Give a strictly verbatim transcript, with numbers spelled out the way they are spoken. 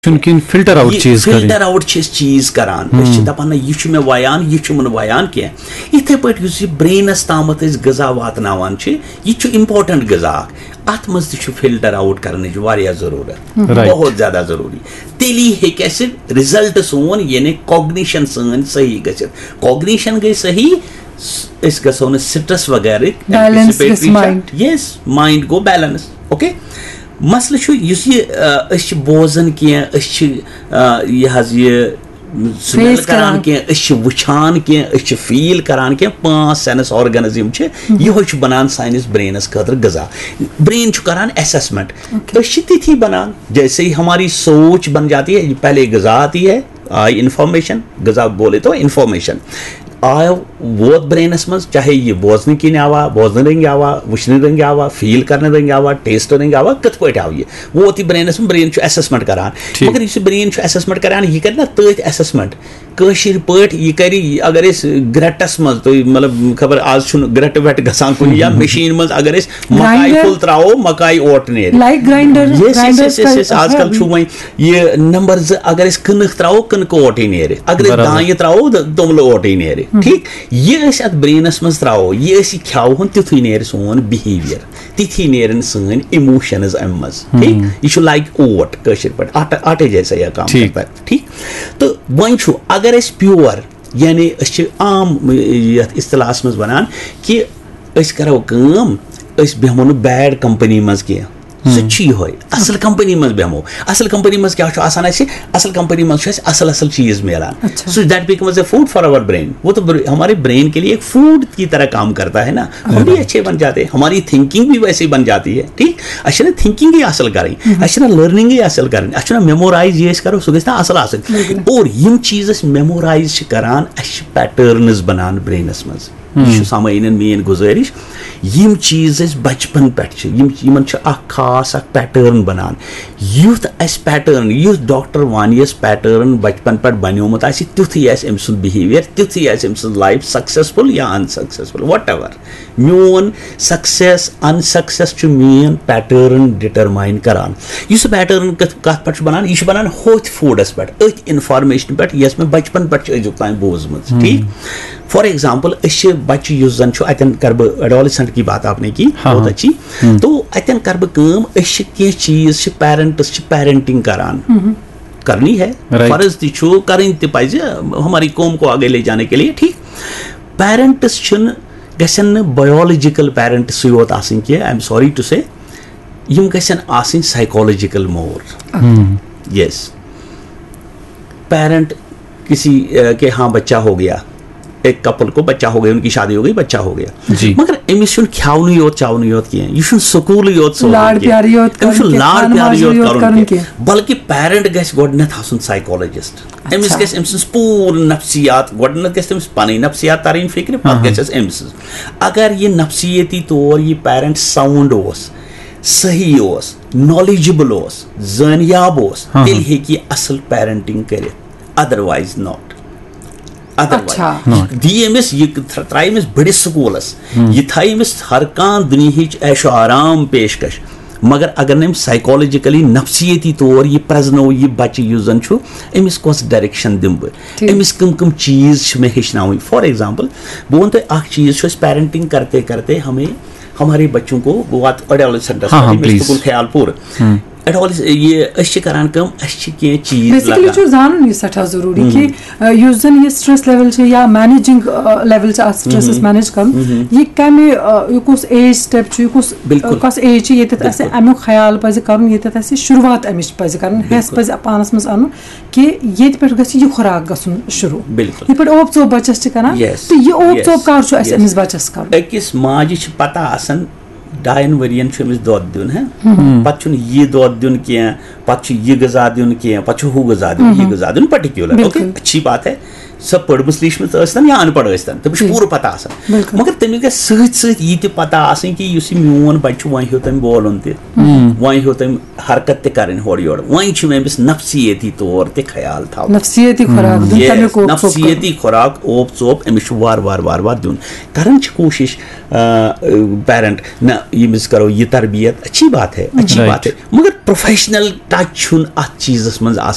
چھُنہٕ کِہیٖنۍ، filter out چیٖز کَرٕنۍ۔ فلٹر آوُٹ چھِ أسۍ چیٖز کران۔ أسۍ چھِ دَپان نہ، یہِ چھُ مےٚ وَیان، یہِ چھُنہٕ وَیان کینٛہہ۔ یِتھے پٲٹھۍ یُس یہِ برینس تامَتھ أسۍ غذا واتناوان چھِ، یہِ تہِ چھُ امپورٹنٹ غذا اکھ۔ اتھ منٛز تہِ چھُ فلٹر آوُٹ کرنٕچ واریاہ ضروٗرت، Right. بہت زیادہ ضروٗری۔ تیٚلی ہیٚکہِ اَسہِ رِزلٹ سون، یعنی کوگنیشن سٲنۍ صحیح گٔژھِتھ۔ کوگنیشن گٔے صحیح، س- أسۍ گژھو نہٕ سٹرس وغیرہ۔ Balance گژھِ mind۔ یس، مایِنڈ گوٚو بیلنس۔ اوکے، مسلہٕ چھُ یُس یہِ، آ، أسۍ چھِ بوزان کینٛہہ، أسۍ چھِ، آ، یہِ حظ یہِ سمیل Face کران کران۔ کینٛہہ، أسۍ چھِ وٕچھان کینٛہہ، أسۍ چھِ فیٖل کران کینٛہہ۔ پانٛژھ سینس آرگنز یِم چھِ، یِہوے چھُ بنان سٲنِس برینس خٲطرٕ غذا۔ برین چھُ کران اسیسمنٹ۔ أسۍ چھِ تِتھی بنان، جیسے ہی ہماری سوچ بن جاتی ہے، پہلے غذا آتی ہے، آئی انفارمیشن، غذا بولے تو انفارمیشن۔ آو، ووت برینس منٛز، چاہے یہِ بوزنہٕ کِنۍ آوا، بوزنہٕ رٔنٛگۍ آوا، وٕچھنہٕ رٔنٛگۍ آوا، فیٖل کرنہٕ رٔنٛگۍ آوا، ٹیسٹ رٔنٛگۍ آوا، کِتھ پٲٹھۍ آو یہِ؟ ووت یہِ برینس منٛز، برین چھُ اسیسمنٹ کران۔ ٹھیٖک۔ مگر یُس یہِ برین چھُ اسیسمنٹ کران، یہِ کرِ نہ تٔتھۍ اسیسمنٹ۔ کٲشِر پٲٹھۍ یہِ کرِ، اگر أسۍ گرٹس منٛز، تُہۍ مطلب خبر آز چھُنہٕ گرٹ وٹ گژھان کُنہِ، یا مِشیٖن منٛز اگر أسۍ مکاے Grinder۔ پھوٚل تراوو، مکاے اوٹ نیرِ۔ لایک گراینڈر، یس یس گراینڈر یس یس یس آز کل چھُ وۄنۍ یہِ نمبر زٕ، اگر أسۍ کٕنٕک تراوو، کٕنکہٕ اوٹٕے نیرِ۔ اگر أسۍ برابر۔ دانہِ تراوو، د- توٚملہٕ اوٹٕے نیرِ۔ ٹھیٖک، یہِ أسۍ اتھ برینس منٛز تراوو، یہِ أسۍ یہِ کھیاوہون، تیُتھُے نیرِ سون بِہیویئر، تِتھی نیرن سٲنۍ اِموشنز امہِ منٛز۔ ٹھیٖک، یہِ چھُ لایک اوٹ کٲشِر پٲٹھۍ، آٹہٕ آٹے جیسا یا کام ٹھیٖک۔ کرتا ہے۔ ٹھیٖک، تہٕ وۄنۍ چھُ، اگر أسۍ پیور، یعنی أسۍ چھِ عام یتھ اصطلاحس منٛز ونان کہِ أسۍ کرو کٲم، أسۍ بیٚہمو نہٕ بیڈ کمپنی منٛز کینٛہہ۔ سُہ تہِ چھُ یِہوے، اصل کمپنی منٛز بیٚہمو۔ اصل کمپنی منٛز کیٛاہ چھُ آسان اَسہِ؟ اصل کمپنی منٛز چھُ اَسہِ اصل اصل چیٖز میلان۔ اچھا۔ So that becomes a food for our brain۔ وہ تو بر- ہمارے برین کے لیے ایک فوڈ کی طرح کام کرتا ہے نا۔ ہم بھی اچھے بن جاتے ہیں، ہماری تھنکنگ بھی ویسے ہی بن جاتی ہے۔ ٹھیک، اَسہِ چھَنہٕ تھنکنگٕے اصل کرٕنۍ، اَسہِ چھَنہٕ لرننگٕے اصل کرٕنۍ، اَسہِ چھُنہٕ میمورایز یہِ أسۍ کرو، سُہ گژھِ نہ اصل آسٕنۍ۔ اور یِم چیٖز أسۍ میمورایز چھِ کران، اَسہِ چھِ پیٹرنز بنان برینس منٛز۔ یہِ چھُ سامعیٖنن میٲنۍ گُزٲرِش، یِم چیٖز أسۍ بچپن پٮ۪ٹھ چھِ، یِم، یِمن چھُ اکھ خاص اکھ پیٹرن بنان۔ یُتھ اَسہِ پیٹرن، یُتھ ڈاکٹر وانیس پیٹرن بچپن پٮ۪ٹھ بنیومُت آسہِ، تیُتھُے آسہِ أمۍ سُنٛد بِہیویئر، تیُتھُے آسہِ أمۍ سٕنٛز لایف سکسیسفل یا انسکسیسفل، وٹ ایور۔ میون سکسیس انسکسیس چھُ مین پیٹرن ڈٹرماین کران۔ یُس سُہ پیٹرن کتھ کتھ پٮ۪ٹھ چھُ بنان؟ یہِ چھُ بنان ہوتھۍ فوڈس پٮ۪ٹھ، أتھۍ انفارمیشن پٮ۪ٹھ، یۄس مےٚ بچپن پٮ۪ٹھ چھِ أزیُک تام بوٗزمٕژ۔ ٹھیٖک، فار ایگزامپل، أسۍ چھِ بچہِ، یُس زن چھُ، اتٮ۪ن کرٕ بہٕ ایڈولسنٹ کی بات آپ نے کی، ہاں، بہت ہاں۔ اچھی۔ تو اتٮ۪ن کرٕ بہٕ کٲم، أسۍ چھِ کینٛہہ چیٖز چھِ، پیرنٹس چھِ پیرنٹنگ کران، کرنی ہے، Right۔ فرض تہِ چھُ، کرٕنۍ تہِ پزِ، ہماری قوم کو آگے لے جانے کے لیے۔ ٹھیک، پیرنٹس چھِنہٕ، گژھن نہٕ بایولوجیکل پیرنٹسٕے یوت آسٕنۍ کینٛہہ، I am sorry to say، یِم گژھن آسٕنۍ سایکولوجیکل مور۔ یس، پیرنٹ کسی، آ، کے ہاں بچہ ہو گیا، ایک کپل کو بچہ ہو گیا، ان کی شادی ہو گئی، بچہ ہو گیا۔ جی۔ مگر أمِس چھُنہٕ کھیاونُے یوت چاونُے یوت کینٛہہ، یہِ چھُنہٕ سکوٗلٕے یوت سوزُن لاڈ کینٛہہ۔ پیارٕے یوت أمِس چھُ کرُن کینٛہہ، لاڈ خانہٕ پیارٕے ماجہِ یوت یوت کرُن کرُن کینٛہہ۔ کینٛہہ۔ بلکہِ پیرنٹ گژھِ گۄڈٕنیتھ آسُن سایکولوجسٹ۔ أمِس اچھا۔ گژھِ أمۍ سٕنٛز پوٗرٕ نفسیات، گۄڈٕنیتھ گژھِ تٔمِس پنٕنۍ نفسیات ترٕنۍ فکرِ، پتہٕ ہاں۔ گژھٮ۪س أمۍ سٕنٛز۔ اگر یہِ نفسیٲتی طور یہِ پیرنٹ ساؤنڈ اوس، صحیح اوس، نالیجبل اوس، زٲنیاب اوس، ہاں۔ تیٚلہِ ہیٚکہِ یہِ اصل پیرنٹنگ کٔرِتھ، otherwise not۔ Otherwise۔ اچھا۔ یہِ دی أمِس، یہِ تھر-، ترٛایہِ أمِس بٔڑِس سکوٗلس، یہِ تھایہِ أمِس ہر کانٛہہ دُنیہٕچ عیش و آرام پیشکش، مگر اگر نہٕ أمِس سایکولوجیکلی، نفسیٲتی طور یہِ پرزنو یہِ بچہِ یُس زن چھُ، أمِس کۄس ڈایریکشن دِمہٕ بہٕ؟ ٹھیٖک۔ أمِس کٕم کٕم چیٖز چھِ مےٚ ہیٚچھناوٕنۍ؟ فار ایگزامپل، بہٕ وَنہٕ تۄہہِ اکھ چیٖز چھُ، أسۍ پیرنٹنگ کرتے کرتے ہمیں، ہمارے بچوں کو، بہٕ واتہٕ ایڈولسنٹ، ہاں، ہاں، please۔ خیال پوٗرٕ۔ ایڈولس-، یہِ أسۍ چھِ کران کٲم، اَسہِ چھِ کینٛہہ چیٖز بیسکلی لگان۔ چھُ زانُن یہِ سٮ۪ٹھاہ ضروٗری کہِ، آ، یُس زن یہِ سٹریس لیول چھُ یا مینیجنگ لیول چھُ اتھ سٹریسس مینیج کرُن، یہِ کمہِ، آ، یہِ کُس ایج سٹیپ چھُ، یہِ کُس، بِلکُل۔ کۄس ایج چھِ ییٚتٮ۪تھ اسہِ بِلکُل۔ امیُک خیال پزِ کرُن، ییٚتٮ۪تھ اسہِ شروٗعات امِچ پزِ کرٕنۍ، ہٮ۪س بِلکُل۔ پزِ پانس منٛز انُن کہِ ییٚتہِ پٮ۪ٹھ گژھِ یہِ خُراک گژھُن شروٗع۔ بِلکُل۔ یِتھ پٲٹھۍ اوپ ژوپ بچس چھِ کران، Yes۔ تہٕ یہِ اوپ Yes۔ ژوپ کر چھُ اسہِ Yes۔ أمِس بچس کرُن؟ أکِس ماجہِ چھِ پتہ آسان ڈاین ؤرین چھُ أمِس دۄد دیُن، ہہ؟ پتہٕ چھُنہٕ یہِ دۄد دیُن کینٛہہ، پتہٕ چھُ یہِ غذا دیُن کینٛہہ، پتہٕ چھُ ہُہ غذا دیُن، یہِ غذا دیُن، پٔٹِکیوٗلر۔ بِلکُل۔ اوکے، اچھی بات ہے، سۄ پٔرمٕژ لیٖچھمٕژ ٲسۍ تن یا اَن پَڑھ ٲسۍ تن، تٔمِس چھُ جی۔ پوٗرٕ پتہ آسان۔ بِلکُل۔ مگر تٔمِس گژھِ سۭتۍ سۭتۍ یہِ تہِ پتہ آسٕنۍ کہِ یُس یہِ میون بچہِ چھُ، وۄنۍ ہیوٚت أمۍ بولُن تہِ، وۄنۍ ہیوٚت أمۍ حرکت تہِ کرٕنۍ ہورٕ یورٕ، وۄنۍ چھُ مےٚ أمِس نفسیٲتی طور تہِ خیال تھاوُن۔ نفسیٲتی خُراک دیُن، Yes، تَمیُک اوپ ژوپ کرُن۔ نفسیٲتی خُراک، اوپ ژوپ، أمِس چھُ وارٕ وارٕ وارٕ وارٕ دیُن۔ کران چھِ کوٗشِش، آ، پیرنٹ، نہ، ییٚمِس کرو یہِ تربیت، اچھی بات ہے، اچھی Right۔ بات ہے، مگر پروفیشنل ٹچ چھُنہٕ اتھ چیٖزس منٛز آسان۔